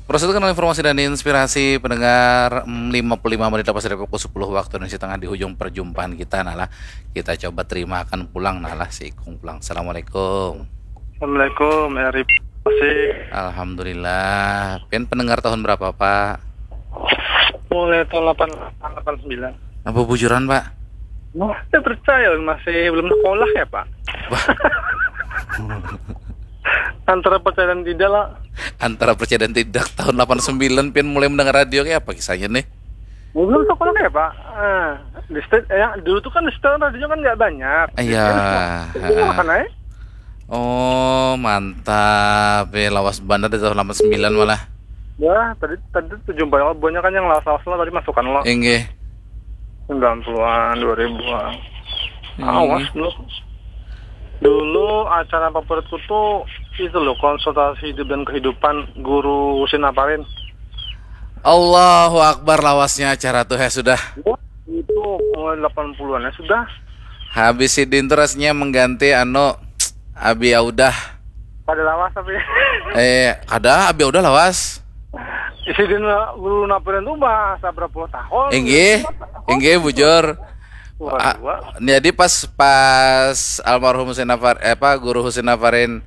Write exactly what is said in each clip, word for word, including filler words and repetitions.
Proses kenal informasi dan inspirasi pendengar, mm, lima puluh lima menit lepas dari pukul sepuluh waktu Indonesia Tengah di hujung perjumpaan kita, nah lah. Kita coba terimakan pulang, nah lah, si Ikung pulang. Assalamualaikum. Assalamualaikum, Eri. Masih. Alhamdulillah. Pian pendengar tahun berapa, Pak? Mulai tahun delapan delapan sembilan. Apa bujuran, Pak? Nah, saya percaya masih belum sekolah ya, Pak. Wah. Antara percaya dan tidak lah. Antara percaya dan tidak. Tahun delapan sembilan pian mulai mendengar radio, kayak apa kisahnya nih? Belum sekolah ya, Pak. Ah, di state, ya, dulu tuh kan di state radio kan nggak banyak. Iya. Jadi, kan, iya, heeh, kan, eh? Oh, mantap. Ya, lawas banget di tahun delapan sembilan malah. Ya, tadi, tadi tuh jumpa banyak kan yang lawas-lawas lah, tadi masukan lo. Inggih. Sembilan puluhan, dua ribuan. Hmm. Awas dulu. Dulu acara favoritku tuh itu loh, konsultasi hidup dan kehidupan Guru Husin Nafarin. Allahu Akbar, lawasnya acara tuh ya sudah. Ya, itu mulai delapan puluhan ya sudah. Habis sidin tuh rasanya mengganti anu Abi Audah. Pada lawas tapi. Eh, kada, Abi Audah lawas. Sidin Guru Nafarin tuh bahasa berapa puluh tahun. Inggih, inggih, bujur. Wah, ah, dua. Jadi pas, pas almarhum Husin Nafar, eh, apa, Guru Husin Nafarin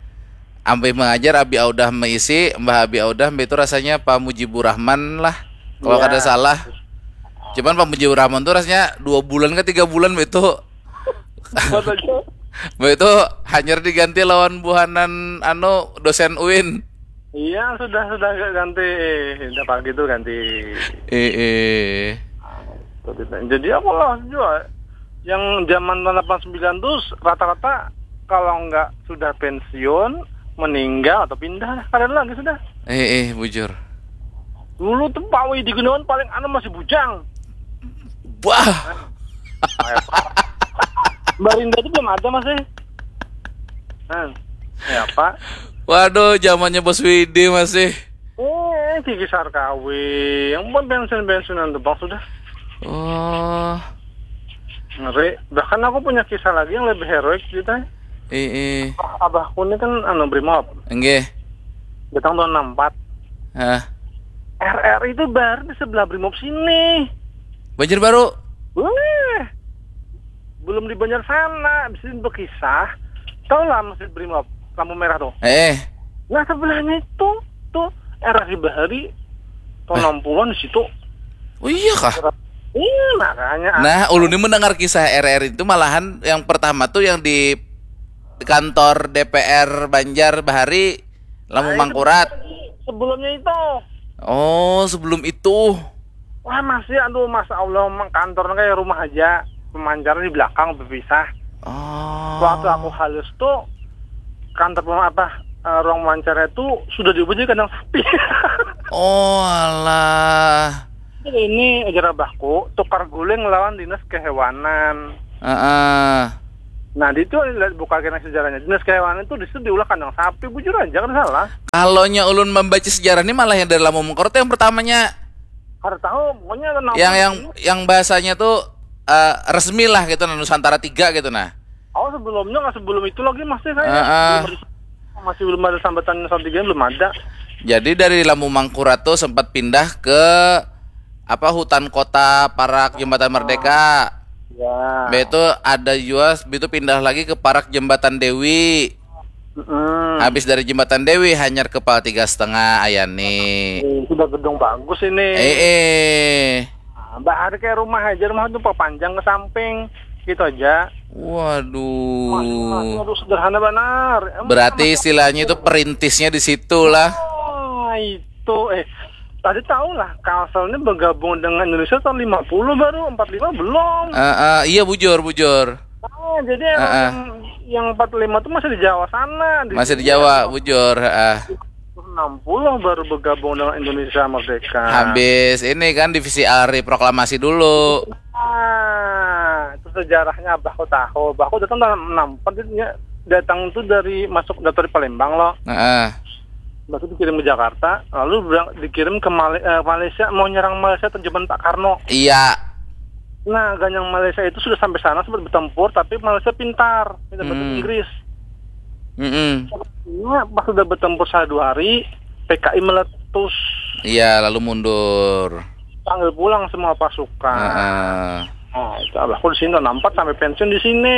ampih mengajar, Abi Audah meisi, Mbah Abi Audah, Mbah itu rasanya Pak Mujibur Rahman lah, kalau, ya, kada salah. Cuman Pak Mujibur Rahman tuh rasanya dua bulan ke tiga bulan, Mbah itu. Buat aja. Mbah itu hanyar diganti lawan buhanan, anu, dosen uin. Iya, sudah, sudah ganti. Sudah pagi tuh ganti. Eh, eh. Jadi aku lah juga. Yang zaman tahun delapan sembilan tuh rata-rata kalau nggak sudah pensiun, meninggal atau pindah, kada ada lagi sudah. Eh, eh, bujur. Dulu tuh Pak Widi Gunawan paling anu masih bujang. Wah. Mbak Rinda tuh belum ada masih. Nah, ya, Pak. Waduh, zamannya Bos Widi masih. Eh, Kiki Sarkawi, yang buat bensin-bensinan tuh, Bang, sudah. Oh. Ngeri. Bahkan aku punya kisah lagi yang lebih heroik ceritanya. Eh, eh. Abahku ini kan anu Brimob. Enggih. Datang tahun enam empat. Hah. R R I itu baru di sebelah Brimob sini. Banjarbaru. Weh. Belum di Banjar sana, bisa berkisah. Tahu lah Masjid Brimob, lampu merah tuh. Eh. Nah, sebelahnya itu tuh R R I Bahari tahun enam puluhan di situ. Oh iya kah? Iya, makanya. Nah, ulun ini mendengar kisah R R I itu malahan yang pertama tuh yang di kantor D P R Banjar Bahari, Lampu Mangkurat. Nah, itu sebelumnya itu. Oh, sebelum itu. Wah, masih, aduh, masya Allah, mang kantornya kayak rumah aja, pemancarnya di belakang berpisah. Oh. Waktu aku halus tuh kantor pem- apa eh, ruang wawancara itu sudah diubah jadi kandang sapi. Oh, alah. Ini ajar abahku tukar guling lawan dinas kehewanan. Heeh. Nah, di itu lihat buka kena sejarahnya. Dinas kehewanan itu di situ diulah kandang sapi, bujur aja kan salah. Kalau nya ulun membaca sejarah ini malah yang dari Lampu Mangkurat yang pertamanya. Kada tahu, pokoknya ada nama. Yang, yang, yang bahasanya tuh eh, resmi lah gitu, nah, Nusantara tiga gitu, nah. Oh, sebelumnya nggak sebelum itu lagi masih saya. Heeh. Belum ada, masih belum ada sambatan Nusantara tiga, belum ada. Jadi dari Lampu Mangkurat tuh sempat pindah ke apa, hutan kota parak Jembatan Merdeka. Ya. Mbah itu ada jua, mbah itu pindah lagi ke parak Jembatan Dewi. Mm-mm. Habis dari Jembatan Dewi hanyar ke Pal tiga setengah, Ayani. Eh, sudah gedung bagus ini. Eh, eh. Nah, Mbak, ada kayak rumah aja, rumah tuh perpanjang ke samping, gitu aja. Waduh. Masing-masing, aduh, sederhana benar. Emang berarti sama istilahnya itu perintisnya di situ lah. Ah, itu, eh, tadi tahu lah, Kalsel ini bergabung dengan Indonesia tahun lima puluh baru, empat lima belum. Eh, eh, iya, bujur, bujur. Ah, jadi emang, eh, eh, yang, yang empat lima tuh masih di Jawa sana, di, masih di sini Jawa, ya, bujur, heeh. Enam puluh baru bergabung dengan Indonesia Merdeka. Habis ini kan divisi ari proklamasi dulu. Ah, itu sejarahnya abahku tahu. Abahku datang tahun enam empat, dia datang tuh dari, masuk, datang dari Palembang loh. Heeh. Habis itu dikirim ke Jakarta, lalu berang-, dikirim ke Male-, eh, Malaysia, mau nyerang Malaysia tuh zaman Pak Karno. Iya. Nah, ganyang Malaysia itu sudah sampai sana sempat bertempur, tapi Malaysia pintar, pintar bahasa, hmm, Inggris. Mm-mm. Nah, pas sudah bertempur sehari dua hari, P K I meletus. Iya, lalu mundur. Panggil pulang semua pasukan. Heeh. Nah, itu abahku di sini tahun empat sampai pensiun di sini.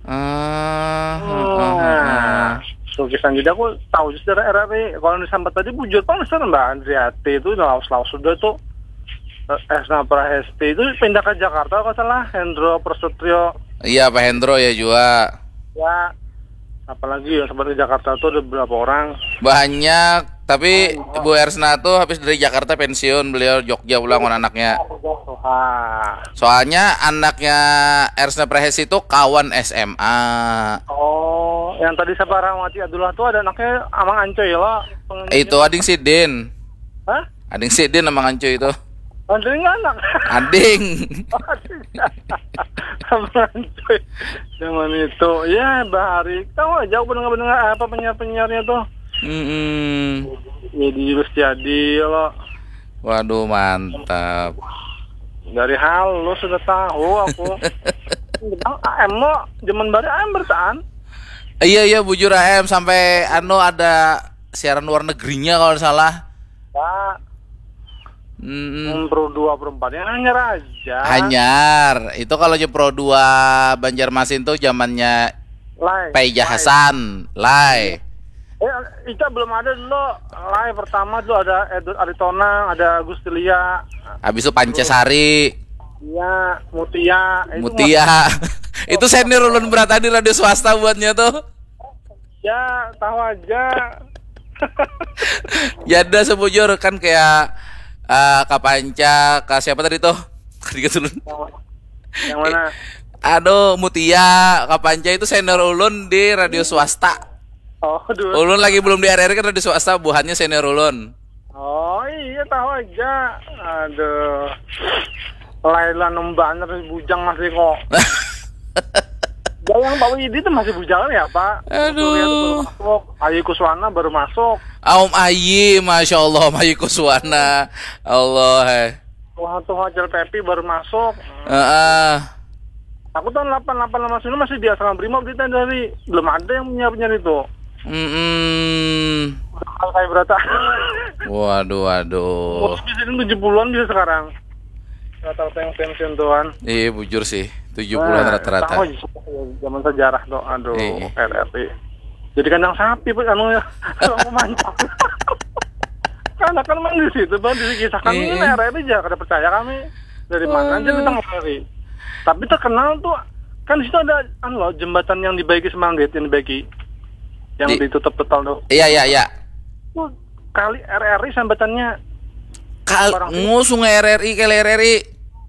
Ah, heeh, Nah, heeh. so kisah jadi aku tahu sejarah R R I. Kalau disambat tadi bujur pang, Mister, Mbak Andriati itu lawas-lawas sudah tuh. Eh, Esna Prahesti itu pindah ke Jakarta kalau salah, Hendro Prasetyo. Iya, Pak Hendro ya juga. Ya, apalagi yang sempat ke Jakarta tuh ada berapa orang? Banyak, tapi Bu Ersna tuh habis dari Jakarta pensiun, beliau Jogja pulang sama anaknya. Wah. Soalnya anaknya Ersna Prahesti itu kawan S M A. Oh, yang tadi siapa, Rahmati Abdullah tuh ada anaknya Amang Ancoy lah. Pengen- Itu ading sidin. Hah? Ading sidin Amang Ancoy itu. Ancoy nggak anak. Ading. Amang Ancoy. Zaman itu, ya, bahari tahu aja aku pendengar-pendengar apa penyiar-penyiarnya tuh. Mm-mm. Jadi terus jadi lo Waduh, mantap. Dari halus sudah tahu aku. Bilang A M lo zaman baru A M bertahan. Iya, iya, bujur A M sampai anu ada siaran luar negerinya kalau nggak salah. Ya, Mm-mm. Pro dua Pro empat yang hanya raja. Hanyar. Itu kalau je Pro dua Banjarmasin tuh zamannya Lai. Paija Hasan, Lai. Eh, itu belum ada dulu. Lai pertama dulu ada Edward Aritonang, ada Agustilia, Habis itu Pancasari, Iya, Mutia. Itu Mutia. Itu senior ulun berarti di radio swasta buatnya tuh. Ya, tahu aja. Ya ada sebujur kan kayak eh, Kapanca, ke siapa tadi tuh? Tadi ulun. Yang mana? Aduh, Mutia, Kapanca itu senior ulun di radio swasta. Oh, dulu. Ulun lagi belum di R R I kan radio swasta, buhannya senior ulun. Oh iya, tahu aja. Aduh. Laila nembaner bujang masih kok. Ya, yang Pak Widi itu masih bujang ya, Pak? Aduh. Surya itu baru masuk. Ayu Kuswana baru masuk. Om Ayi, masya Allah, Om Ayi Kuswana. Allah, eh. Wah, tuh Hajar Pepi baru masuk. Heeh. Aku tahun delapan delapan delapan sembilan masih di asrama Brimob di Tendari. Belum ada yang punya punya itu. Mm-mm. Kalau kayak berata. Waduh, waduh. Mungkin bisa tujuh puluhan bisa sekarang. Rata-rata yang pensiun tuan. Iya, bujur sih. Tujuh puluhan rata-rata. Tahu aja zaman sejarah tuh. Aduh, Iya. R R I. Jadi kandang sapi pun anu ya. Kalau mau mancak. Karena kan main di situ, Bang, dikisahkan Iya, ini iya. R R I aja kada percaya kami. Dari mana aja Aduh. datang R R I. Tapi terkenal tuh kan di situ ada anu loh, jembatan yang dibaiki Semanggit, yang dibaiki. Yang Di- ditutup total tuh. Iya, iya, iya. Tuh kali R R I sambatannya. Kal Orang sini. Ngusung R R I, kali R R I.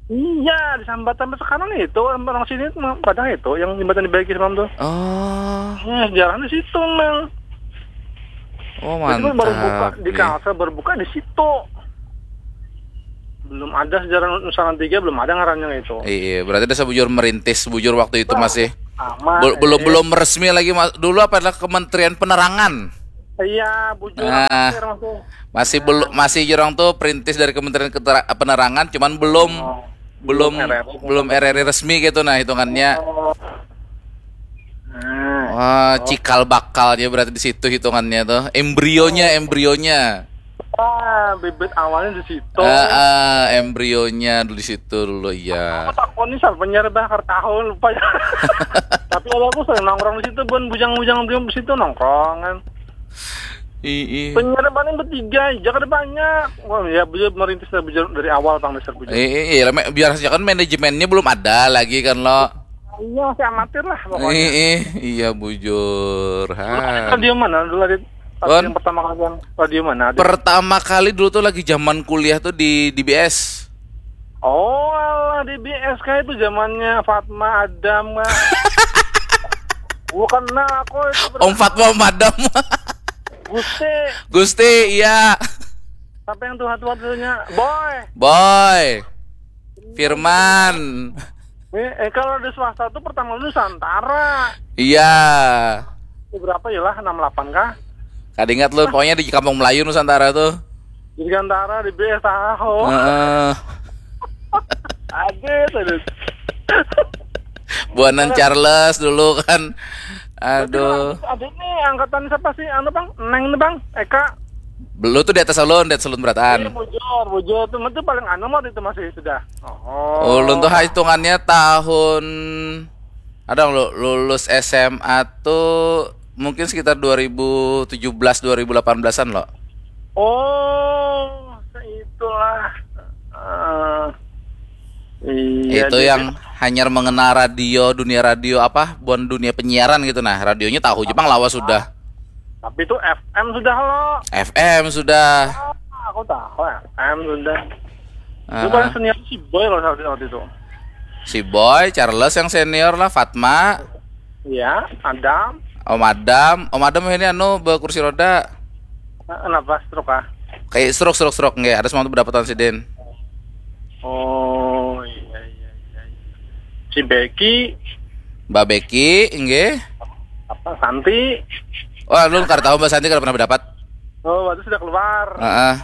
Iya, disambat sampai sekarang itu orang sini tuh padahal itu yang jembatan dibaiki semalam tuh. Oh, Nah, sejarahnya di situ, Mang. oh, Jadi baru buka mantap. di Iya. Kalsel, baru buka di situ. Belum ada sejarah Nusantara tiga, belum ada ngarannya itu. Iya, berarti ada sebujur merintis bujur waktu itu masih Sama. bel- belum eh, belum resmi lagi, Mas. Dulu apa, adalah Kementerian Penerangan. Iya, bujur Ah. Akhir masih. Masih belum, masih jurang tuh perintis dari Kementerian Ketera- Penerangan, cuman belum Oh, belum belum R R I. Belum R R I resmi gitu, nah, hitungannya. Oh. Nah, Wah, cikal bakalnya berarti di situ hitungannya tuh. Embrionya, embrionya. ah, bibit awalnya di situ. Ah, ah, embrionya dulu di situ dulu, iya. Aku takut nih siapa penyiar bah, kada tahu, lupa ya. Tapi kalau aku sering nongkrong di situ, Bun, bujang-bujang di situ nongkrong kan. Ii. Penyiar paling bertiga aja, kada banyak. Wah, ya bujur merintis dari bujur dari awal, Bang, dasar bujur. Ii, iya, me- biar saja kan manajemennya belum ada lagi kan lo. Iya, masih amatir lah pokoknya. Ii, iya bujur. Ha. Radio mana dulu, Adit? Pas Wan? Yang pertama kali yang radio mana, Adit? Pertama kali dulu tuh lagi zaman kuliah tuh di D B S. Oh, alah, di B S K itu zamannya Fatma Adam, Kak. Bukan, nah, aku itu Om Fatma Madam. Gusti. Gusti, iya. Siapa yang tua-tua dulunya? Boy. Boy. Firman. Eh, eh, kalau di swasta tuh pertama Nusantara. Iya. Itu berapa ya lah, enam delapan kah? Kada ingat lu, pokoknya di Kampung Melayu Nusantara tuh. Dirgantara, D B S tahu. Heeh. Adit, Adit. Buanan Charles dulu kan. Aduh. Adit nih angkatan siapa sih? Anu, Bang, Neng nih, Bang. Eka. Belum tuh di atas ulun, di atas ulun berataan. Iya, bujur, bujur. Itu, itu paling anu mah itu masih sudah. Oh. Ulun tuh hitungannya tahun ada lu, lulus S M A tuh mungkin sekitar dua ribu tujuh belas dua ribu delapan belasan loh. Oh, itulah. Uh, iya, itu yang hanya mengenal radio, dunia radio apa, bukan dunia penyiaran gitu nah. Radionya tahu Jepang lawas sudah. Tapi itu F M sudah lo. F M sudah. Ah, aku tahu F M sudah. Uh. Itu paling senior si Boy loh waktu itu. Si Boy, Charles yang senior lah, Fatma. Iya, Adam. Om Adam, Om Adam ini anu berkursi roda. Kenapa stroke ah? Kayak stroke stroke stroke nggak ada semua pendapatan si Din. Oh iya iya iya. Si Becky. Mbak Becky, enggak. Apa Santi? Wah, lu nggak tahu Mbak Santi kalau pernah berdapat. Oh, waktu sudah keluar. Uh -uh.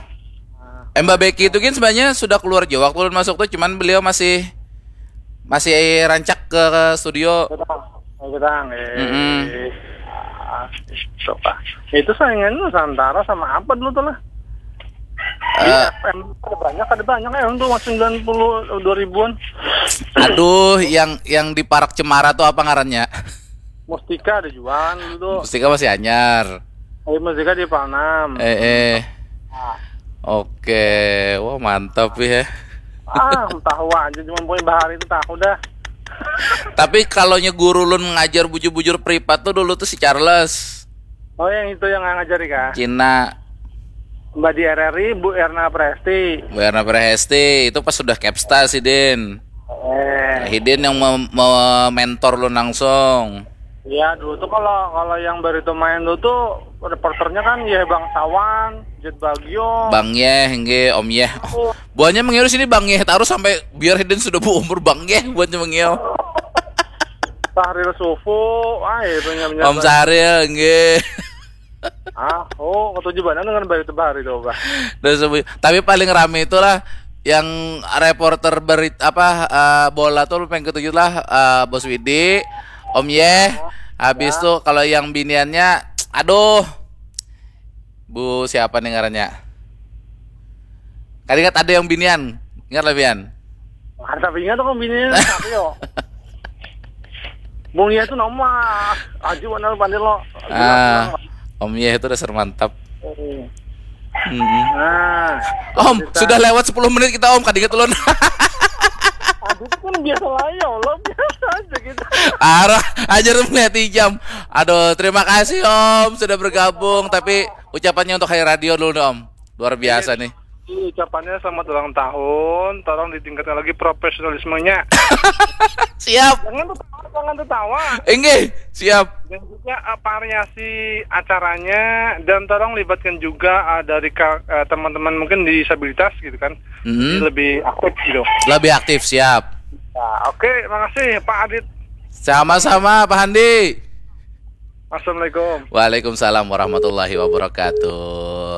Eh, Mbak Becky itu kan sebenarnya sudah keluar juga waktu masuk tuh, cuman beliau masih masih rancak ke, ke studio. Kita, kita, eh, mm -hmm. Itu saingan Nusantara sama apa dulu tuh lah? Uh, ada banyak, ada banyak ya untuk sembilan puluh dua ribuan. Aduh, yang yang di Parak Cemara tuh apa ngarannya? Mustika ada jualan dulu tuh. Mustika masih anyar. Eh, Mustika di Palnam. Eh, eh. Nah. Oke, wah mantap ya. Ah, tahu aja cuma poin bahari itu tahu dah. Tapi kalau guru lun ngajar bujur-bujur privat tuh dulu tuh si Charles. Oh, yang itu yang ngajari kah? Cina. Mbak di R R I, Bu Erna Presti. Bu Erna Presti, itu pas sudah Capsta si Din. Eh. Hidin yang mementor lu langsung. Iya, dulu tuh kalau kalau yang baru itu main dulu tuh reporternya kan ya bangsawan, Jet Bagio. Bang Yeh, nggih, Om Yeh. Oh. Buahnya mengiru sini Bang Yeh taruh sampai biar Hidin sudah berumur Bang Yeh buatnya mengiau. Sahril Sufu, ah itu nyamnya. Om Sahril, nggih. Ah, oh, ketujuh banar dengan bayi tebari tuh, Bah. Tapi paling rame itulah yang reporter berit apa uh, bola tuh pengen ketujuh lah uh, Bos Widi, Om Yeh. Habis ya. Tuh kalau yang biniannya, aduh, Bu siapa nih ngarannya? Kan ingat ada yang binian, ingat lah Bian. Ada tapi ingat kok binian, tapi yo. Bung Yeh tuh nama Aji mana lu pandir lo. Ah, Om Yeh itu dasar mantap. Hmm. Nah, Om, kita... sudah lewat sepuluh menit kita Om, kadingat ulun. Aduh pun biasa lah ya Allah, biasa aja gitu. Arah aja melihat jam. Aduh, terima kasih Om sudah bergabung, tapi ucapannya untuk Hai Radio dulu Om. Luar biasa nih. Ucapannya selamat ulang tahun, tolong ditingkatkan lagi profesionalismenya. Siap. Jangan tertawa, jangan tertawa. Enggih, siap. Dan juga uh, variasi acaranya dan tolong libatkan juga uh, dari uh, teman-teman mungkin disabilitas gitu kan. Mm-hmm. Lebih aktif gitu. Lebih aktif, siap. Nah, oke, okay, makasih Pak Adit. Sama-sama Pak Handi. Assalamualaikum. Waalaikumsalam warahmatullahi wabarakatuh.